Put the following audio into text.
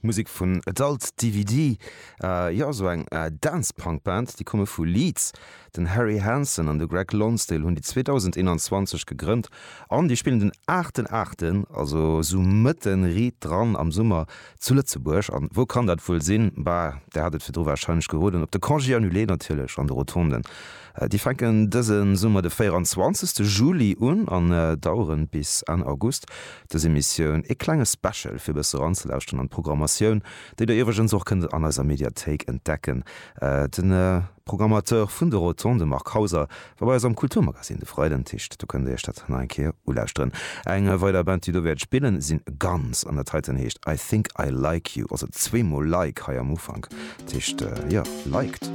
Musek vun Adult DVD, jo esou eng Dance-Punk Band, déi komme vu Leeds. Den Harry Hansen an de Greg Lonsdale hunn déi 2021 gegrënnt an déi spillen den aachten aachten, also esou mëtten riit dran am Summer zu Lëtzebuerg. An wou kann dat wuel sinn? Bah, der hat et virdru warscheinlech geroden, op de Congé annulé natierlech an de Rotonden. Déi fänken dëse Summer de 24 Juli un an daueren bis Enn August. Dës Emissioun ee klenge Special fir e bësse eranzelauschteren an d'Programmatioun, déi der iwwregens och kënnt an eiser Mediathéik entdecken. De Programmateur vun de Rotondes, de Marc Hauser, war bei eis am Kulturmagazin de Freiden, dat heescht do kënnt der iech dat nach eng Kéier ulauschteren. Eng weider Band déi do wäert spillen sinn Guns an dat heiten heescht I Think I Like You, also zweemol Like hei am Ufank, dat heescht jo liked.